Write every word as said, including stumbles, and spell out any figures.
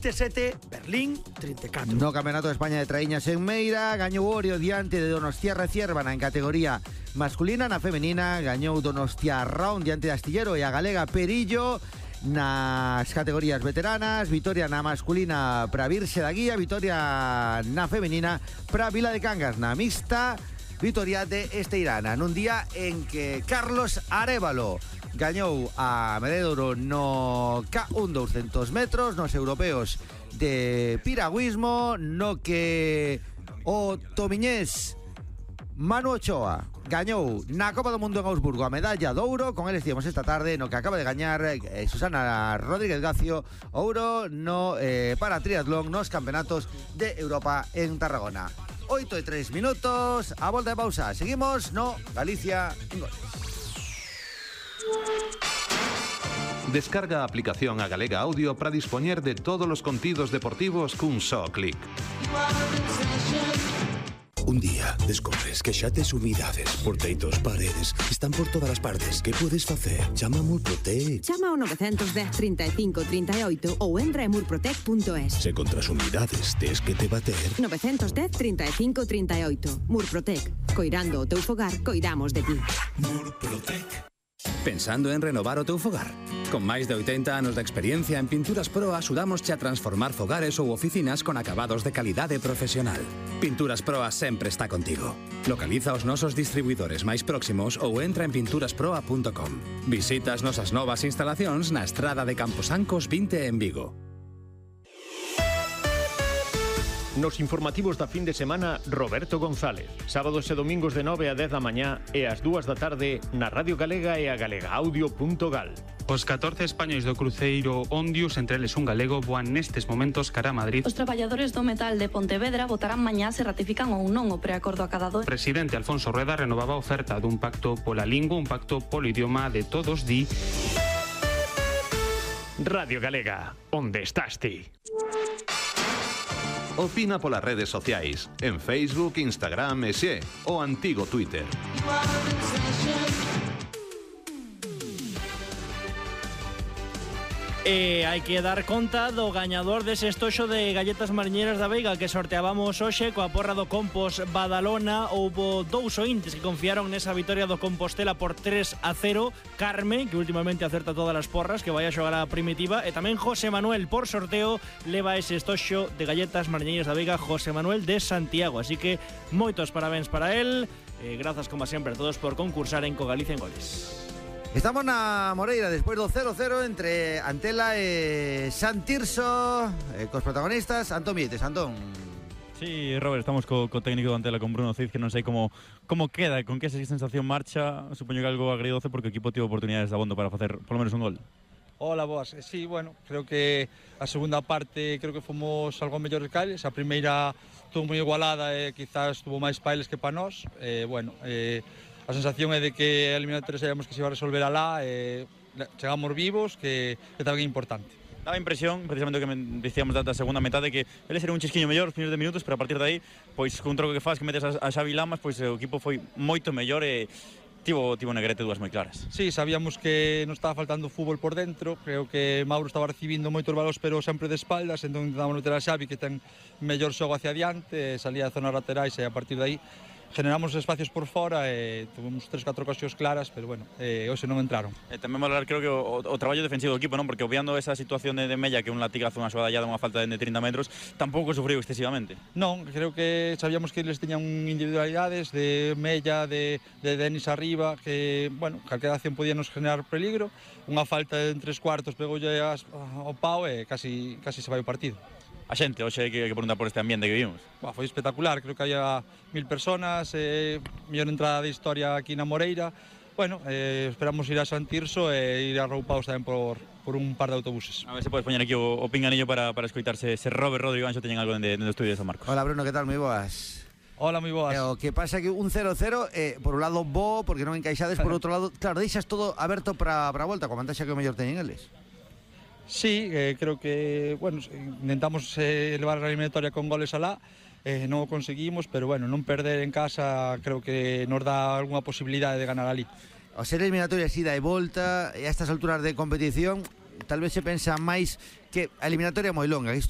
trinta e sete, Berlín trinta e catro. No Campeonato de España de Traíñas en Meira gañou Orio diante de Donostiarra Ciervana en categoría masculina. Na femenina gañou Donostia Round diante de Astillero e a galega Perillo. Nas categorías veteranas, vitoria na masculina para Virxe da Guía, vitoria na femenina para Vila de Cangas. Na mixta, vitoria de Esteirana, nun día en que Carlos Arévalo gañou a medalla de ouro no K un doscientos metros nos europeos de piragüismo, no que o tomiñés Manu Ochoa gañou na Copa do Mundo en Augsburgo a medalla de ouro. Con él estivemos esta tarde no que acaba de gañar eh, Susana Rodríguez Gacio ouro no eh, para triatlón nos campeonatos de Europa en Tarragona. Oito e tres minutos, a volta de pausa. Seguimos no Galicia en Goles. Descarga a aplicación a Galega Audio para dispoñer de todos os contidos deportivos cun só clic. Un día descubres que xa tes humidades por teitos, paredes, están por todas as partes. Que podes facer? Chama a Murprotec. Chama ao nove un cero, trinta e cinco, trinta e oito ou entra en murprotec punto es. Se contra as humidades tes que te bater. nove un cero, trinta e cinco, trinta e oito. Murprotec. Coirando o teu fogar, coidamos de ti. Murprotec. Pensando en renovar o teu fogar? Con máis de oitenta anos de experiencia en Pinturas Pro axudámosche a transformar fogares ou oficinas con acabados de calidade profesional. Pinturas Proa sempre está contigo. Localiza os nosos distribuidores máis próximos ou entra en pinturas proa punto com. Visita as nosas novas instalacións na estrada de Camposancos vinte en Vigo. Nos informativos da fin de semana, Roberto González. Sábados e domingos de nove a dez da mañá e ás dúas da tarde na Radio Galega e a galegaaudio punto gal. Os catorce españois do cruceiro Ondius, entre eles un galego, voan nestes momentos cara a Madrid. Os traballadores do metal de Pontevedra votarán mañá se ratifican ou non o preacordo acadado. O presidente Alfonso Rueda renovaba a oferta dun pacto pola lingua, un pacto polo idioma de todos, di... Radio Galega, onde estás ti? Opina polas redes sociais, en Facebook, Instagram e xe, o antigo Twitter. E hai que dar conta do gañador dese estoxo de galletas mariñeiras da Veiga que sorteábamos hoxe coa porra do Compos Badalona. Houbo dous ointes que confiaron nesa vitoria do Compostela por tres a cero. Carme, que últimamente acerta todas as porras, que vai a xogar a Primitiva, e tamén José Manuel, por sorteo, leva ese estoxo de galletas mariñeiras da Veiga, José Manuel de Santiago. Así que moitos parabéns para él. E grazas, como sempre, a todos por concursar en Co Galicia en Goles. Estamos na Moreira despois do cero cero entre Antela e Santirso, eh, cos protagonistas Antón Mietes. Antón. Sí, Robert, estamos co, co técnico do Antela, con Bruno Cid, que non sei como como queda, con que esa sensación marcha. Supoño que algo agridoce porque o equipo tivo oportunidades de abondo para facer polo menos un gol. Hola, boas. Sí, bueno, creo que a segunda parte creo que fomos algo mellores que eles. A primeira estuvo moi igualada e quizás estuvo máis pa eles que pa nós. Eh, bueno, eh, a sensación é de que a eliminatoria sabíamos que se iba a resolver alá e chegamos vivos, que, que tamén é importante. Daba impresión, precisamente o que dicíamos da segunda metade, que eles eran un chisquiño mellor os primeiros de minutos, pero a partir de aí, pois con un troco que faz que metes a, a Xavi Lamas, pois o equipo foi moito mellor e tivo, tivo Negrete dúas moi claras. Sí, sabíamos que nos estaba faltando fútbol por dentro, creo que Mauro estaba recibindo moitos balos, pero sempre de espaldas, entón intentamos meter a Xavi, que ten mellor xogo hacia adiante, salía de zonas laterais e a partir de aí generamos espacios por fora e tuvimos tres, catro ocasións claras, pero bueno, eh, hoxe non entraron. E tamén valorar, creo que o, o traballo defensivo do equipo, non? Porque obviando esa situación de, de Mella, que un latigazo, unha xogada unha falta de trinta metros, tampouco sufriu excesivamente. Non, creo que sabíamos que eles teñan individualidades de Mella, de, de Denis arriba, que, bueno, calquera acción podía nos generar peligro. Unha falta en tres cuartos pegoulle ao pau e casi, casi se vai o partido. A xente, hoxe hai que, que preguntar por este ambiente que vivimos. Bah, foi espectacular, creo que había mil personas, eh, mellor entrada de historia aquí na Moreira. Bueno, eh, esperamos ir a Santirso e ir arroupados tamén por, por un par de autobuses. A ver se podes poñer aquí o, o pinganillo para, para escoitarse se Robert, Rodrigo Anxo teñen algo dende o estudio de San Marcos. Hola Bruno, que tal? Moi boas. Hola, moi boas. Eh, o que pasa que un cero cero, eh, por un lado bo, porque non encaixades, por outro lado, claro, deixas todo aberto para a volta, coa vantaxe que o mellor teñen eles. Sí, eh, creo que, bueno, intentamos eh, elevar a eliminatoria con goles alá, eh, non o conseguimos, pero bueno, non perder en casa creo que nos dá algunha posibilidade de ganar ali. O ser eliminatoria ida e volta, e a estas alturas de competición, tal vez se pensa máis que a eliminatoria moi longa, isto